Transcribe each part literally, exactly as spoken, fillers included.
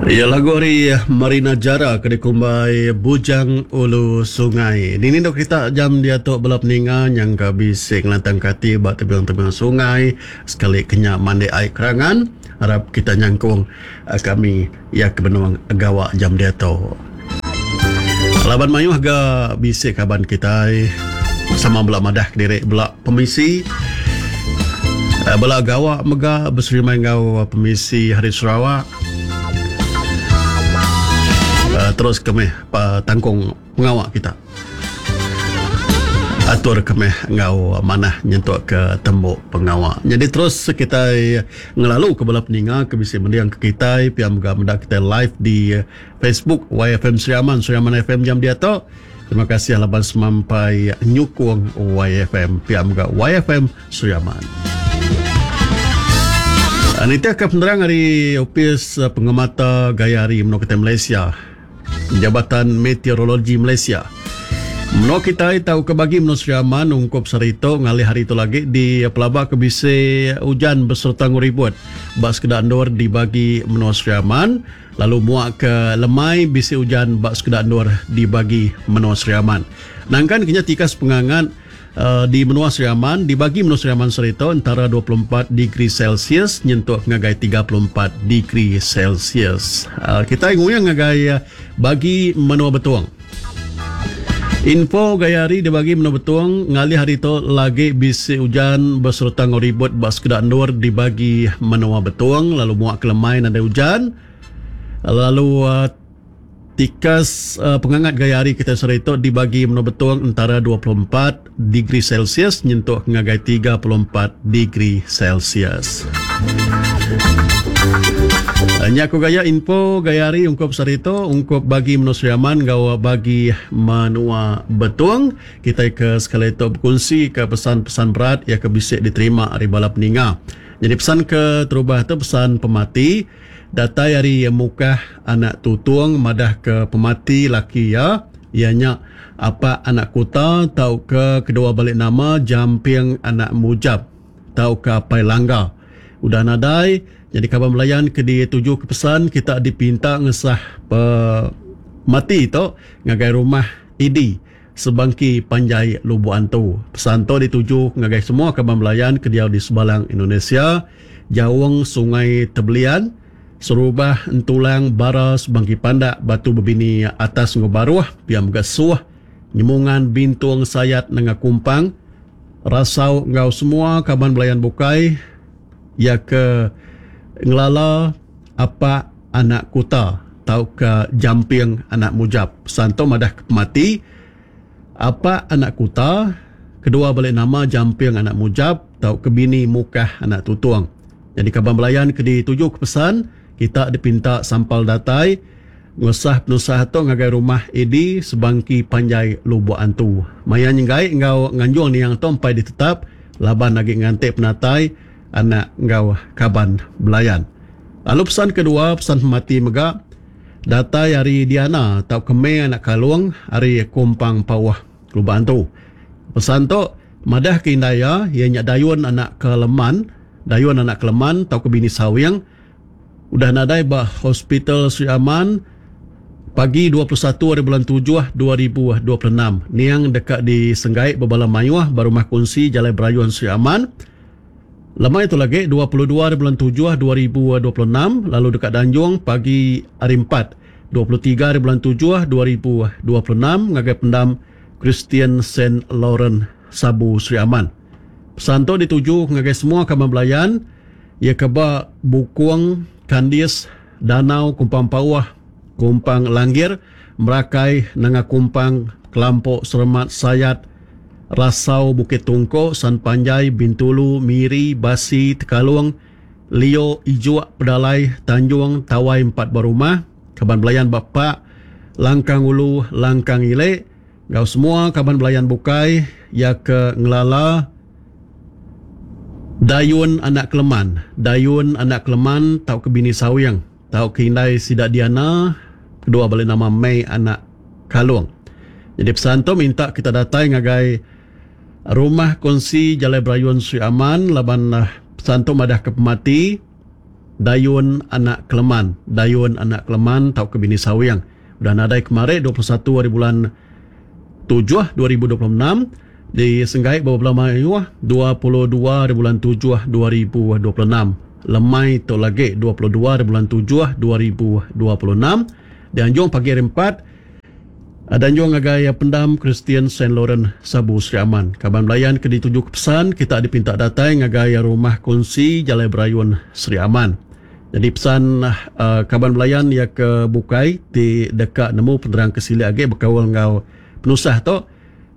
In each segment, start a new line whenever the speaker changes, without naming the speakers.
Iya lagu ari Marina Jara ke dikumbai Bujang Ulu Sungai. Dini dok kita jam diatu bala peninga nyangka bisi ngelantangka ati ba tebing-tebing sungai sekali ke nya mandi ai kerangan. Arap kita nyangkung kami iya ke benung gawa jam diatu. Laban mayuh ga bisi kaban kitai sama bela madah kediri bela pemisi bela gawa mega beserimbai enggau pemisi Hari Sarawak. Terus ke meh tangkung pengawa kita. Atur ke meh enggau manah nyentuk ke tembu pengawa. Nyadi terus kitai ngelalu ke bala peninga ke bisi mending ke kitai pia mega meda kitai live di Facebook Y F M Sri Aman, Sri Aman F M jam diatu. Terima kasih laban semampai nyukung Y F M pia mega Y F M Sri Aman. Nitih ke penerang ari Opis Pengemata Gaya Hari Menua Kitai Malaysia, Jabatan Meteorologi Malaysia. Menua kitai tauka bagi menua Sri Aman ungkup sehari tu ngalih hari tu lagi di pelaba ke bisi ujan besereta enggau ribut ba sekeda endur di bagi menua Sri Aman, lalu muak ke lemai bisi ujan ba sekeda endur di bagi menua Sri Aman. Nangkan kenya tikas pengangat uh, di menua Sri Aman, di bagi menua Sri Aman sehari tu antara dua puluh empat degree Celsius nyentuk ngagai tiga puluh empat degree Celsius. Uh, kita nguyang ngagai bagi menua Betong. Info gaya hari di bagi menua Betong ngalih hari tu lagi bisi ujan besereta enggau ribut ba sekeda endur di bagi menua Betong, lalu muak ke lemai nadai ujan. Lalu uh, tikas uh, pengangat gaya hari kita sehari tu di bagi menua Betong antara dua puluh empat degree Celsius nyentuk ngagai tiga puluh empat degree Celsius. Nya ku gaya info gaya hari ungkup sehari tu ungkup bagi menua Sri Aman enggau bagi menua Betong. Kita ke sekali tu berkongsi ke pesan-pesan berat yang ke bisi diterima ari bala peninga. Jadi pesan ke terubah tu pesan pemati datai ari Mukah anak Tutung madah ke pemati laki iya, iya nya Apak anak Kuta tauka kedua balik nama Jamping anak Mujab tauka Apai Langga. Udah nadai. Jadi kaban belayan ke dituju ke pesan kita dipinta ngesah pemati tu ngagai rumah I D Sebangki Panjai Lubuk Antu. Pesan tu dituju ngagai semua kaban belayan ke diau di Sebalang Indonesia, Jaung Sungai Tebelian, Serubah Entulang Bara Sebangki Pandak Batu Bebini Atas Enggau Baruh, Pia Mega Suh, Nyemungan Bintung Sayat Nengah Kumpang, Rasau enggau semua kaban belayan bukai ya ke ngelala Apak anak Kuta tauka Jamping anak Mujab. Pesan tu madah ke pemati Apak anak Kuta, kedua balik nama Jamping anak Mujab tauka bini Mukah anak Tutung. Jadi kaban belayan ke dituju ke pesan kita dipinta sampal datai ngusah penusah tu ngagai rumah I D Sebangki Panjai Lubuk Antu. Maya nyenggai enggau nganjung niang tu empai ditetap laban lagi ngantik penatai anak enggau kaban belayan. Lalu pesan kedua, pesan pemati mega datai ari Diana tauka Mei anak Kalung ari Kumpang Pauh Lubuk Antu. Pesan tu madah ke indai iya, iya nya Dayun anak Keleman, Dayun anak Keleman tauka bini Sawing udah nadai ba Hospital Sri Aman pagi dua puluh satu hari bulan tujuh dua ribu dua puluh enam. Niang deka disenggai bebala mayuh ba rumah kunsi Jalai Berayun Sri Aman. Lemai itu lagi dua puluh dua hari bulan tujuh dua ribu dua puluh enam, lalu dekat Danjung pagi hari empat dua puluh tiga hari bulan tujuh dua ribu dua puluh enam ngagai pendam Christian Saint Laurent Sabu Sri Aman. Pesan tu dituju ngagai semua kaban belayan ia ke ba Bukung, Kandis, Danau, Kumpang Pauh, Kumpang Langgir, Merakai, Nanga Kumpang, Kelampok, Seremat, Sayat, Rasau, Bukit Tungkok, San Panjai, Bintulu, Miri, Basi, Tekalung, Lio, Ijuk, Pedalai, Tanjung, Tawai empat berumah, kaban belayan Bapak, Langkang Ulu, Langkang Ile, enggau semua kaban belayan bukai ya ke ngelala Dayun anak Keleman, Dayun anak Keleman tauka bini Sawing, tauka indai sida Diana, kedua balik nama Mei anak Kalung. Jadi pesan tu minta kita datai ngagai rumah kongsi Jalai Berayun Sri Aman laban pesan tu madah ke pemati Dayun anak Keleman. Dayun anak Keleman tauka bini Sawing. Udah nadai kemari dua puluh satu hari bulan tujuh dua ribu dua puluh enam di Senggai bawah belah mayuh dua puluh dua hari bulan tujuh dua ribu dua puluh enam. Lemai tu lagi dua puluh dua hari bulan tujuh dua ribu dua puluh enam di Anjung pagi hari empat. Danjung ngagai pendam Kristian Saint Laurent Sabu Sri Aman. Kaban belayan ke dituju ke pesan kita dipinta datai ngagai rumah kongsi Jalai Berayun Sri Aman. Jadi pesan uh, kaban belayan ya ke bukai ti deka nemu penerang ke silik agi berkaul ngau penusah tu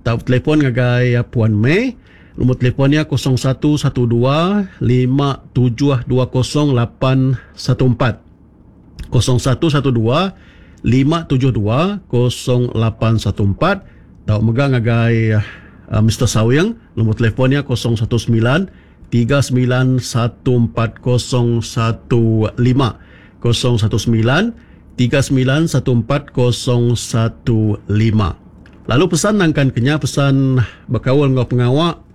tau telefon ngagai Puan May. Nombor telefonnya kosong satu satu dua lima tujuh dua kosong lapan satu empat. Kosong satu satu dua lima tujuh dua kosong lapan satu empat. Tau mega ngagai uh, Mister Sawing, nombor telefonnya kosong satu sembilan tiga sembilan satu empat kosong satu lima. Kosong satu sembilan tiga sembilan satu empat kosong satu lima. Lalu pesan nangkan kenya pesan berkaul ngau pengawak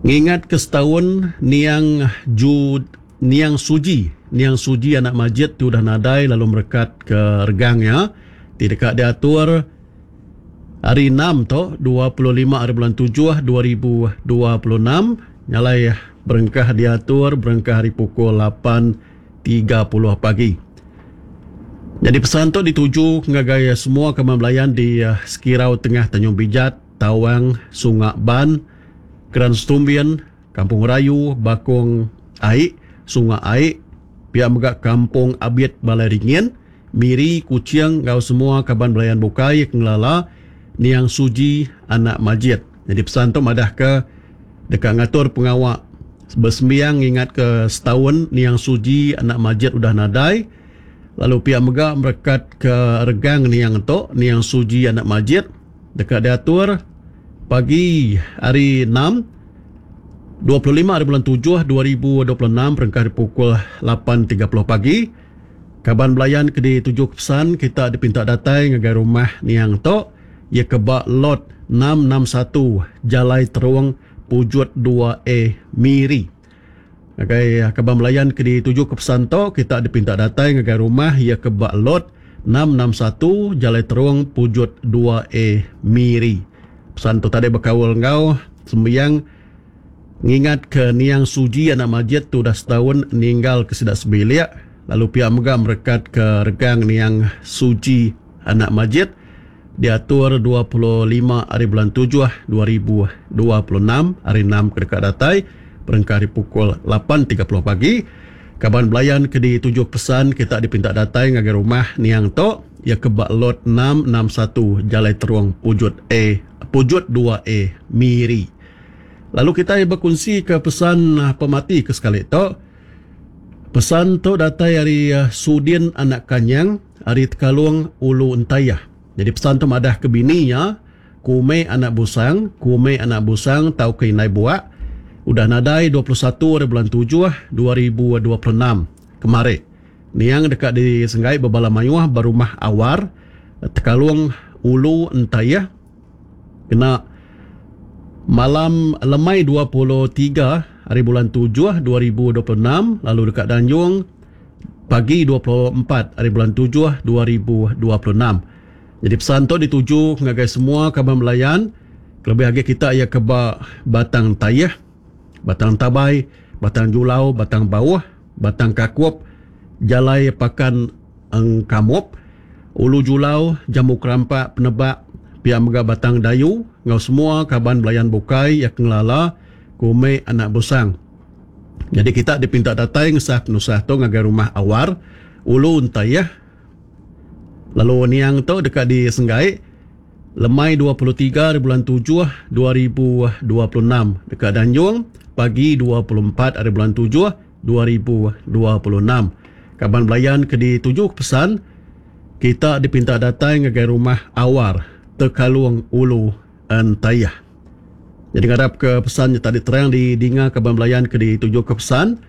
ngingat ke setahun niang Ju niang Suji, niang Suji anak Majid tu dah nadai lalu merekat ke regangnya ti dekat diatur hari enam tu dua puluh lima hari bulan tujuh dua ribu dua puluh enam nyalai berengkah diatur berengkah hari pukul lapan tiga puluh pagi. Jadi pesan tu dituju ngagai semua kaban belayan di Sekirau Tengah Tanjung Bijat, Tawang, Sungak Ban, Keran Setumbin, Kampung Rayu, Bakong Aik, Sungai Aik, pihak mega Kampung Abit Balai Ringin, Miri, Kuching, ngau semua kaban belayan bukai ngelala Niang Suji anak Majid. Jadi pesan tu madah ke dekat ngatur pengawak bersembiang ingat ke setahun Niang Suji anak Majid udah nadai. Lalu pihak mega merekat ke regang Niang tu, Niang Suji anak Majid dekat diatur pagi hari enam dua puluh lima hari bulan tujuh dua ribu dua puluh enam berengkah pukul lapan tiga puluh pagi. Kaban belayan ke dituju pesan kita dipinta datai ngagai rumah Niang tu ia ke bak lot enam enam satu Jalai Terung Pujut dua A Miri. Ngagai kaban belayan ke dituju ke pesan tu kita dipinta datai ngagai rumah ia ke bak lot enam enam satu Jalai Terung Pujut dua A Miri. Pesan tu tadi berkaul ngau sembiang ngingat ke Niang Suji anak Majid tu dah setahun ninggal ke sidak sebilik. Lalu pihak mega merekat ke regang Niang Suji anak Majid diatur dua puluh lima hari bulan tujuh dua ribu dua puluh enam hari enam ke dekat datai berengkah hari pukul lapan tiga puluh pagi. Kaban belayan ke dituju pesan kita dipinta datai ngagai rumah Niang tu ia ke bak lot enam enam satu Jalai Terung Pujut A Pujut dua A Miri. Lalu kita berkongsi ke pesan pemati ke sekali tu. Pesan tu datai dari Sudin anak Kanyang ari Tekalung Ulu Entayah. Jadi pesan tu madah ke bininya Kume anak Busang, Kume anak Busang tau ke Inai Buak udah nadai dua puluh satu hari bulan tujuh dua ribu dua puluh enam kemari. Niang dekat di Senggai berbala mayuh berumah Awar Tekalung Ulu Entayah kena malam lemai dua puluh tiga hari bulan tujuh dua ribu dua puluh enam lalu dekat Danjung pagi dua puluh empat hari bulan tujuh dua ribu dua puluh enam. Jadi pesan tu dituju ngagai semua kaban belayan kelebih lagi kita ia ke Batang Tayah, Batang Tabai, Batang Julau, Batang Bawah, Batang Kakup, Jalai Pakan Engkamop, Ulu Julau, Jambu Kerampak, Penebak, pihak mega Batang Dayu, ngau semua kaban belayan bukai yang ngelala Kume anak Busang. Jadi kita dipinta datai ngesah penusah tu ngagai rumah Awar, Ulu Entayah. Lalu niang tu dekat di Senggai lemai dua puluh tiga hari bulan tujuh dua ribu dua puluh enam dekat Danjung pagi dua puluh empat hari bulan tujuh dua ribu dua puluh enam. Kaban belayan ke dituju pesan kita dipinta datai ngagai rumah Awar Tekalung Ulu Entayah. Jadi ngarap ke pesannya tadi terang di dinga kaban belayan ke dituju ke pesan.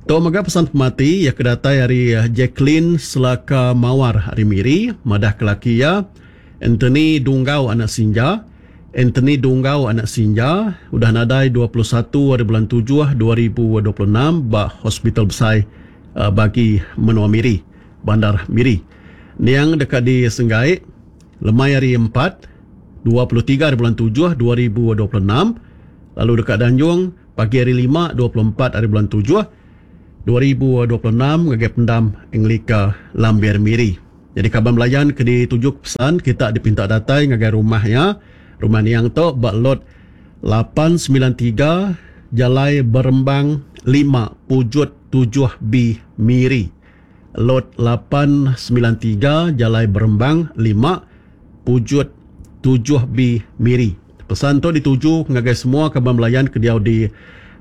Tu mega pesan pemati yang kedatai hari Jacqueline Selaka Mawar hari Miri madah ke laki ya Anthony Dunggau anak Sinja. Anthony Dunggau anak Sinja udah nadai dua puluh satu hari bulan tujuh dua ribu dua puluh enam ba Hospital Besai bagi menua Miri, Bandar Miri. Niang deka disenggai lemai hari empat, dua puluh tiga hari bulan tujuh dua ribu dua puluh enam, lalu deka danjung pagi hari lima, dua puluh empat hari bulan tujuh dua ribu dua puluh enam ngagai pendam Anglika Lambir Miri. Jadi kaban belayan ke dituju pesan kita dipinta datai ngagai rumah ya. Rumah niang tu ba lot lapan sembilan tiga Jalai Berembang lima Pujut tujuh B Miri. Lot lapan sembilan tiga Jalai Berembang lima Pujut tujuh B Miri. Pesan tu dituju ngagai semua kaban belayan ke diau di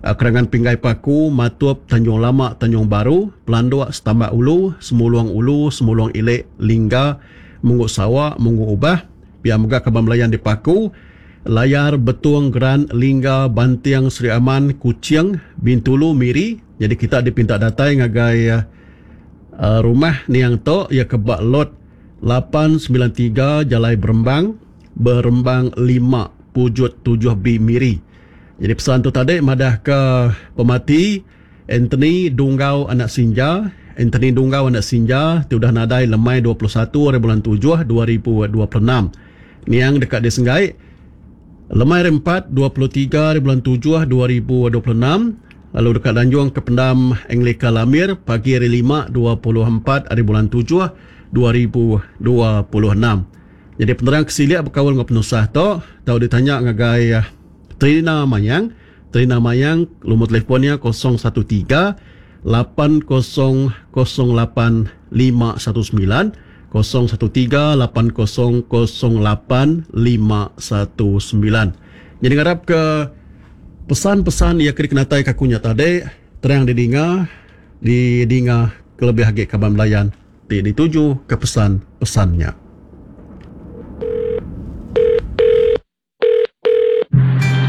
uh, Kerangan Pinggai Paku, Matup, Tanjung Lama, Tanjung Baru, Pelanduk, Setambak Ulu, Semulung Ulu, Semulung Ilek, Lingga, Munggu Sawa, Munggu Ubah, pihak mega kaban belayan di Paku, Layar, Betung, Geran, Lingga, Banting, Sri Aman, Kuching, Bintulu, Miri. Jadi kita dipinta datai ngagai uh, rumah niang tu ya ke bak lot lapan sembilan tiga Jalai Berembang, Berembang lima Pujut tujuh B Miri. Jadi pesan tu tadi madah ke pemati Anthony Dunggau anak Sinja, Anthony Dunggau anak Sinja ti udah nadai lemai dua puluh satu hari bulan tujuh dua ribu dua puluh enam. Niang dekat disenggai lemai hari empat, dua puluh tiga hari bulan tujuh dua ribu dua puluh enam, lalu dekat Danjung ke pendam Anglika Lamir pagi hari lima, dua puluh empat hari bulan tujuh dua ribu dua puluh enam. Jadi penerang kesiliak berkaul dengan penusah tu, tau ditanya ngagai Trina Mayang. Trina Mayang, nombor telefonnya kosong satu tiga, lapan kosong kosong lapan lima satu sembilan, kosong satu tiga, lapan kosong kosong lapan lima satu sembilan. Jadi ngarap ke pesan-pesan yang kena kenatai kakunya tadi terang didinga, didinga kelebih lagi kaban belayan ti dituju ke pesan-pesannya.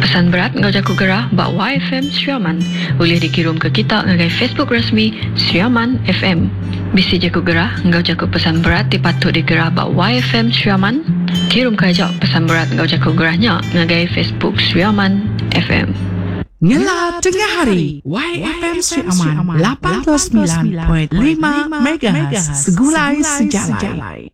Pesan berat ngau jaku gerah bak Y F M Sri Aman. Boleh dikirim ke kita ngagai Facebook resmi Sri Aman F M. Bisi jaku gerah ngau jaku pesan berat dipatut digerah bak Y F M Sri Aman. Kirim ke aja pesan berat ngau jaku gerahnya ngagai Facebook Sri Aman F M.
Ngela tengah hari Y F M Sri Aman lapan puluh sembilan perpuluhan lima MHz Segulai Sejalai.